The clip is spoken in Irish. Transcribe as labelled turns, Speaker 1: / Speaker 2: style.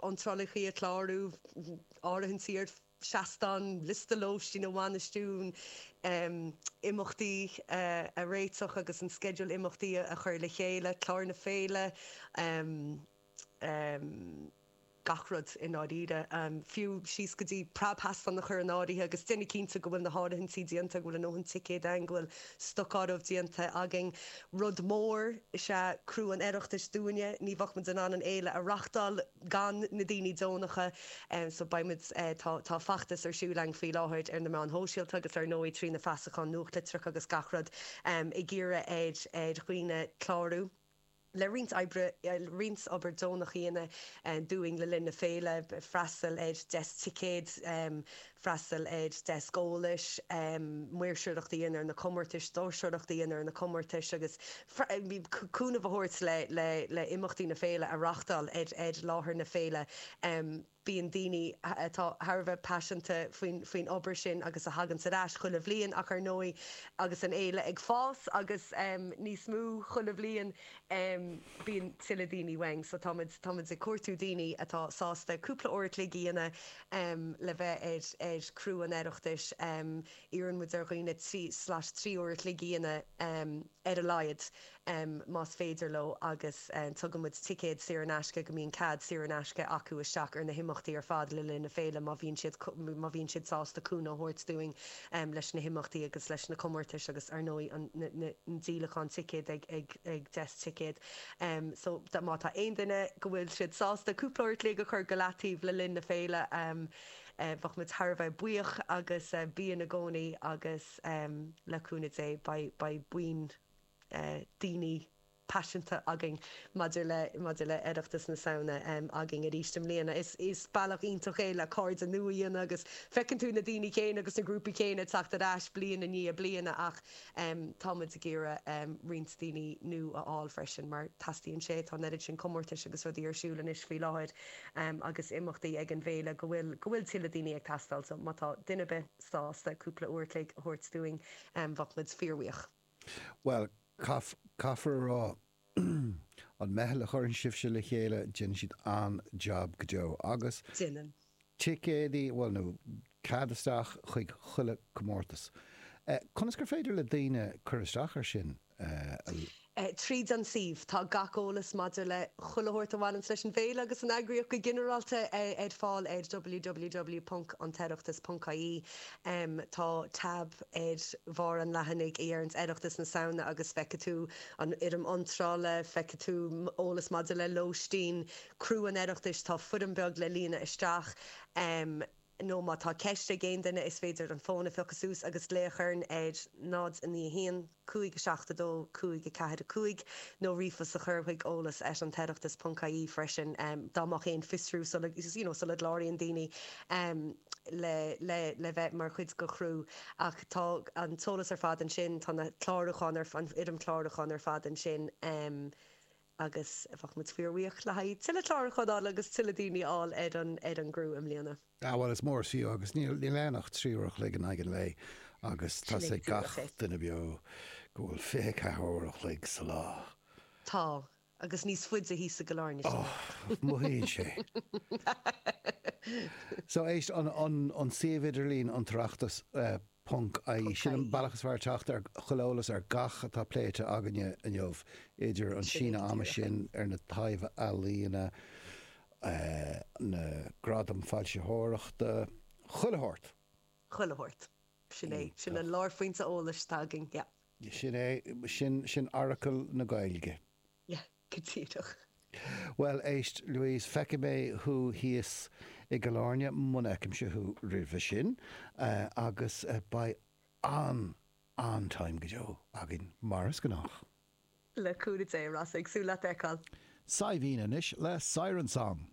Speaker 1: iontrálacha a chlárú, áirithintí ar seastán, liosta lóistín a bhainistiú, imeachtaí a réiteach agus an sceideal imeachtaí a chur le chéile, clár na féile, gach rud i ndáiríre. Fiú síos go dtí preabsheastán a chur in áirithe agus déanamh cinnte go bhfuil na háirithintí déanta, go bhfuil a ndóthain ticéad ann, go bhfuil stocáireamh déanta againn. Rud mór is ea criú an Oireachtais dúinne. Ní bheadh muid in ann an fhéile a reachtáil gan na daoine deonacha. So beidh muid, tá, tá feachtas ar siúl againn faoi láthair ar na meáin shóisialta agus ar ndóigh trí na feasacháin nuachtlitreacha agus gach rud ag iarraidh ar, ar dhaoine clárú. le roinnt oibre, roinnt obair deonach a dhéanamh dúinn le linn na féile, freastal ar deasc ticéad, freastal ar deasc eolais, maoirseoireacht a dhéanamh ar na comórtais, doirseoireacht a dhéanamh ar na comórtais agus cúnamh a thabhairt le le le imeachtaí na féile a reachtáil ar ar láthair na féile. Bíonn daoine atá thar a bheith paiseanta faoin faoin obair sin agus a thaganns ar ais chuile bhliain ach ar ndóigh agus an fhéile ag fás agus níos mó chuile bhliain bíonn tuilleadh daoine uainn so táimid táimid ag cuartú daoine atá sásta cúpla uair a chloig a dhéanamh le bheith ar ar criú an Oireachtais. Iarrann muid ar dhaoine 3 slash 3 uair a chloig a dhéanamh ar a laghad más féidir leo agus tugann muid ticéad saor in aisce go mbíonn cead saor in aisce acu isteach ar na himeachtaí ar fad le linn na féile má bhíonn siad má bhíonn siad sásta cúnamh a thabhairt dúinn leis na himeachtaí agus leis na comórtais agus ar ndóigh an an díolachán ticéad ag ag ag deasc ticéad. So má tá aon duine go bhfuil siad sásta cúpla uair a chloig a chur go leataobh le linn na féile Bheadh muid thar a bheith buíoch agus bíonn i gcónaí agus le cúnamh Dé beidh buíon daoine paiseanta againn maidir le maidir le Oireachtas na Samhna againn arís i mbliana. Is is bealach iontach é le cairde nua a dhéanamh agus feiceann tú na daoine céanna agus na grúpaí céanna ag teacht ar ais bliain i ndiaidh bliana ach Tá muid ag iarraidh roinnt daoine nua a fháil freisin mar teastaíonn sé, tá an oiread sin comórtais agus rudaí ar siúl anois faoi láthair agus imeachtaí ag an bhféile go bhfuil, go bhfuil tuilleadh daoine ag teastáil so má tá duine ar bith sásta cúpla uair a chloig a thabhairt dúinn bheadh muid fíorbhuíoch.
Speaker 2: Bhuel, caithfear a rá, an meitheal a chuireann sibhse le chéile, déanann siad an-jab go deo agus.
Speaker 1: Déanann.
Speaker 2: ticéidí, bhuel, nó cead isteach chuig chuile comórtas. Conas gur féidir le daoine cur isteach ar sin?
Speaker 1: Tríd an suíomh. Tá gach eolas maidir le chuile shórt a bhaineanns leis an bhféile agus an eagraíocht go ginearálta ar fáil ar www.antoireachtas.ie. Tá tab ar bharr an leathanaigh a dheireanns Oireachtas na Samhna agus feicfidh tú an fhoirm iontrála, feicfidh tú eolas maidir le lóistín, Criú an Oireachtais, tá foirm beag le líonadh isteach, nó má tá ceist ag aon duine is féidir an fón a phiocadh suas agus glaoch orainn ar 0 9 1 5 7 2 5 4 5 nó ríomhphost a chur chuig eolas at antoireachtas ponc ie freisin dá mbeadh aon fiosrú sula you know sula gcláraíonn daoine le le le bheith mar chuid de chriú ach tá an t-eolas ar fad ansin, tá na clárúcháin ar an fhoirm chlárúcháin ar fad ansin. Agus bheadh muid fíorbhuíoch le haghaidh tuilleadh clárúchán a fháil agus tuilleadh daoine a fháil ar an ar an gcriú i mbliana.
Speaker 2: Ah bhuel is mór is fiú agus níl níl ann ach 3 uair a chloig in aghaidh an lae agus tá 's ag gach duine beo go bhfuil 24 uair a chloig sa lá.
Speaker 1: Tá, agus níos faide thíos i gCill Airne sin.
Speaker 2: Oh, mothaíonn sé. So éist, an an an suíomh idirlín an tOireachtas eh, ponc ie. Sin an bealach is fearr teacht ar chuile eolas ar gach atá pléite againne inniu, idir an síneadh ama sin ar na taibh-ealaíona, na gradaim foilsitheoireachta, chuile shórt.
Speaker 1: Chuile shórt. Sin é. Sin an lárphointe eolais atá againn, yeah.
Speaker 2: Sin é. Sin, sin Oracle na Gaeilge.
Speaker 1: Yeah, go díreach.
Speaker 2: Bhuel, éist, Louise, feicfidh mé thú thíos i gCill Airne, muna bhfeicimse thú roimhe sin, agus beidh an, an-time go deo againn, mar is gnách.
Speaker 1: Le cúnamh Dé, Rossa, ag súil leat a fheiceáil.
Speaker 2: Saidhbhín anois le Siren Song.